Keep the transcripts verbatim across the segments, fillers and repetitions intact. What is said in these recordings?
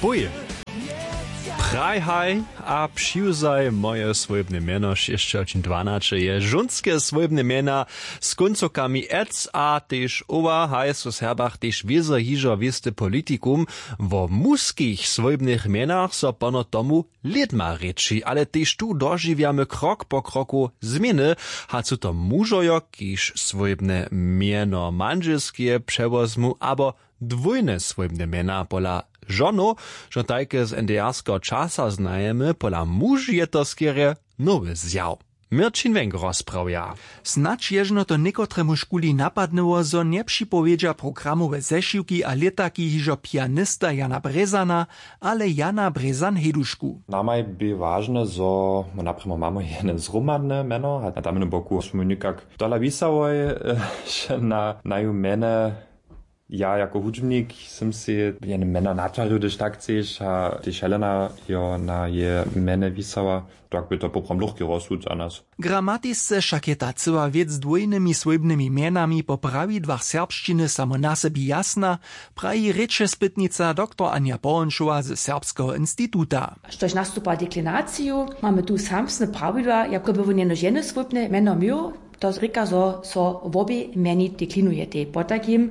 Puj. Praj haj a přiwzaj moje swójbne mjeno. Šěsćohodźin dwanaće je žónske swójbne mjena z kóncowkami ec a tež owa. Haj su w Serbach tež wězo hižo wěsty politikum. Wo muskich swójbnych mjenach so pono tomu lědma rěči, ale tež tu dožiwjamy krok po kroku změny. Hač su to mužojo, kiž swójbne mjeno mandźelskeje přewozmu, abo dwójne swójbne mjena pola žonow, što tajke z NDR-skeho časa znajemy. Pola muž je to skerje nowy zjaw. Měrćin Wenk rozprawja. Snadź ježno to někotremuž kuli napadnyło, zo njepřipowědźa programowe zešiwki a lětaki hižo pianista Jana Brězana, ale Jana Brězan-Hejdušku. Namaj bě wažne, zo my naprěmo mamy jene zhromadne mjeno a na tamnym boku smy někak tola wisałoj na naju mjene. Ja jako hudźbnik sym sej jene mjeno natwarił, hdyž tak chceš, a tež Helena jo na je mjene wisała, tak bě to poprawom lóchki rozsud za nas. Gramatisce wšak je ta cyła wěc z dwójnymi swójbnymi mjenami po prawidłach serbšćiny samo na sebi jasna, praji rěčespytnica doktor Anja Połonšowa ze Serbskeho instituta. Štož nastupa deklinaciju, mamy tu samsne prawidła, jako by wón jenož jene swójbne mjeno měł. To rěka, zo so wobě mjeni deklinujetej. Potajkim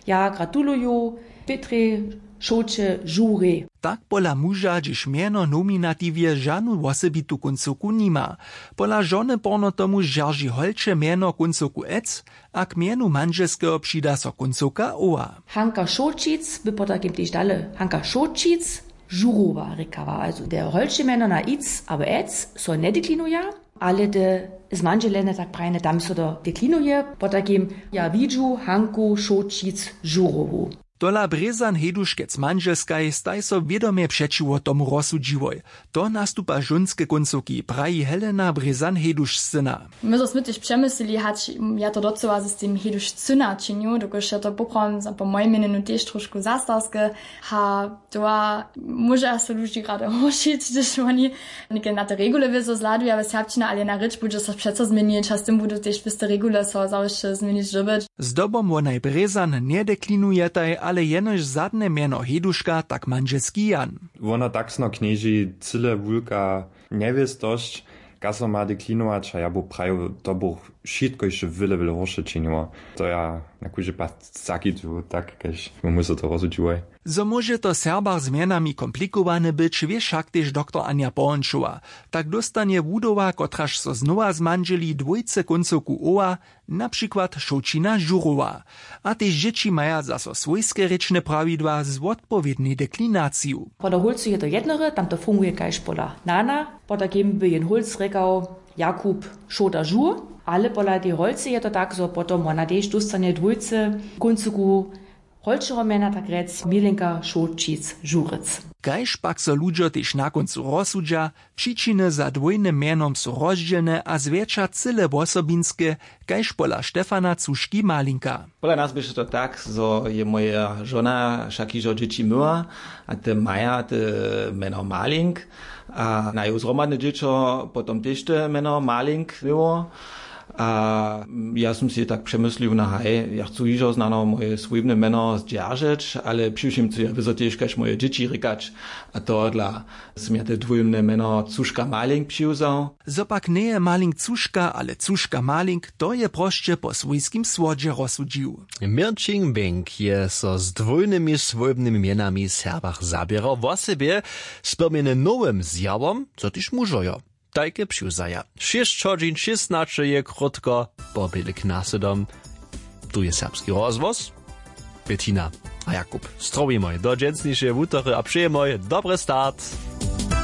ja gratuluju Pětrje Šołće Žurej. Tak pola muža, hdźež mjeno w nominatiwje žanu wosebitu kóncowku nima. Pola žony porno tomu zdźerži holče mjeno kóncowku ec a k mjenu mandźelskeho přida so kóncowka owa. Hanka Šołćic by potajkim tež dale Hanka Šołćic Žurowa rěkała. Also te holče mjeno na ic abo ec so njedeklinuja, ale te zmandźelene, tak prajene, tam so to deklinuje. Potajkim ja widźu Hanku Šołćic Žurowu. Tola Brězan-Hejduškec mandźelskaj staj so wědomje přećiwo tomu rozsudźiłoj. To nastupa žónske kóncowki, praji Helena Brězan-Hejdušcyna. My zo smy tež přemyslili, hač ja to docyła z tym Hejdušcyna činił, dokelž je to poprawom za po mojim měnjenju tež trošku zastarske. Ha, to móže so ludźi rady horšić, hdyž woni něke na te regule wězo zhladuja w serbšćinje, ale na rěč budźe so přeco změnić a z tym budu tež wěste regule so zawěsće změnić dyrbjeć. Zdobom wonaj Brězan njedeklinu je taj ale jenož zadne mjeno Hejduška, tak mandźelski Jan. Wona taksno knježi cyle wulka njewěstosć, kaž so ma deklinować, a ja bu prajił, to buch wšitko hišće wjele wjele horše činiło. To ja na kóždy pad zakitu tak, kaž my so to rozsudźiłoj. Zo móže to w Serbach z mjenami komplikowane być, wě wšak tež doktor Anja Połonšowa. Tak dóstanje wudowa, kotraž so znowa zmandźeli, dwójce kóncowku oła, na přikład Šołćina Žurowa. A tež dźěći maja zaso swójske rěčne prawidła z wotpowědnej deklinaciju. Pola hólcu je to jednore, tam to funguje kaž pola nana. Potajkim by jen hólc rěkał Jakub Šołta Žur, ale pola tej holcy je to tak, zo potom wona tež dóstanje dwójce kóncoku holčeho mjena, tak rjec Milenka Šołćic Žurec. Kaž pak so ludźo tež na kóncu rozsudźa, přičiny za dwójnym mjenom su rozdźělne a zwjetša cyle wosobinske, kaž pola Štefana Cuški-Malinka. Pola nas běše to tak, zo je moja žona wšak hižo dźěći myła, a te maja te mjeno Malink, a naju zhromadne dźěćo potom tež te mjeno Malink měło. A ja sym sej tak přemyslił, na haj, ja chcu hižo znano moje swójbne mjeno zdźeržeć, ale přiwšěm chcu ja wězo tež kaž moje dźěći rěkać, a tohodla sym ja te dwójbne mjeno Cuška-Malink přiwzał. Zo pak njeje Malink Cuška, ale Cuška-Malink, to je prosće po swójskim słodźe rozsudźił. Měrćin Wink je so z dwójnymi swójbnymi mjenami w Serbach zaběrał wosebje, spyrmjeny nowym zjawom, zo tež mužojo tajke přiwzaja. Šěsć hodźin šěsnaće je krótko po bělek na sydom. Tu je Serbski rozhłos. Bettina a Jakub, strowimoj do dźensnišeje wutory a přejemoj dobry start.